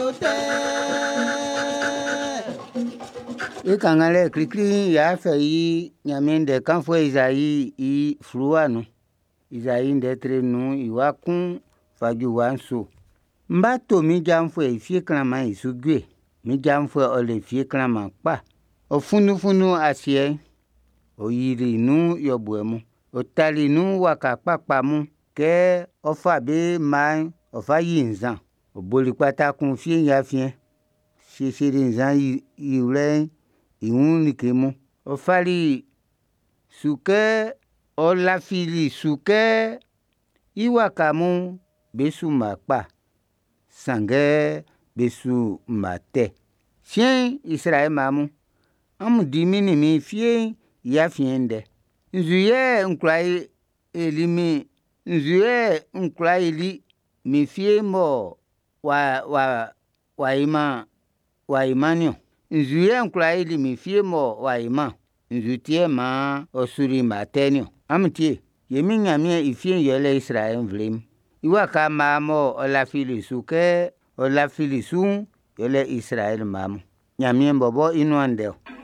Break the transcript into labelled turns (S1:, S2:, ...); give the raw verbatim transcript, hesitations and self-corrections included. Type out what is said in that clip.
S1: yo tɛ.
S2: E kannganlɛ klikli'n y'a fɛ i Ɲanmiɛn ndɛ kanfuɛ Ezai i fluwa nun. Ezai ndɛ tre nnun i wa kun fa ju wa nso. M ba to min janvuɛ'n i fie klanman'n i su jue. Min janvuɛ'n ɔ le fie klanman kpa. Ɔ funndufunndun asiɛ'n, ɔ yili nun yɔbuɛ mun. Ɔ tali nun waka kpakpa mun kɛ ɔ fa be mma'n ɔ fa yi nzan. Ɔ boli kpata kun fie'n i afiɛn, siesieli nzan yiwlɛ'n i wun like mun. Ɔ fali su kɛ ɔ lafili su kɛ i waka mun bé sú mma kpa, sanngɛ be su mma tɛ. Siɛn'n, Izraɛli mma mun, amun di min nin min fie'n e afiɛn ndɛ. Nzu yɛ n kwla yili min nzu yɛ n kwla yili min fie'n mɔ w'a w'a w'a yiman w'a yiman'n niɔn? Nzu yɛ n kwla yili min fie'n mɔ w'a yiman nzu ti yɛ maan ɔ suli mma tɛ'n niɔn? Amun tie, e Min Ɲanmiɛn i fie'n yɛle Izraɛli nvle'n. I waka mma mɔ ɔ lafili su kɛ ɔ lafili su'n, yɛle Izraɛli mma mun. Ɲanmiɛn bɔbɔ i nuan ndɛ ɔ.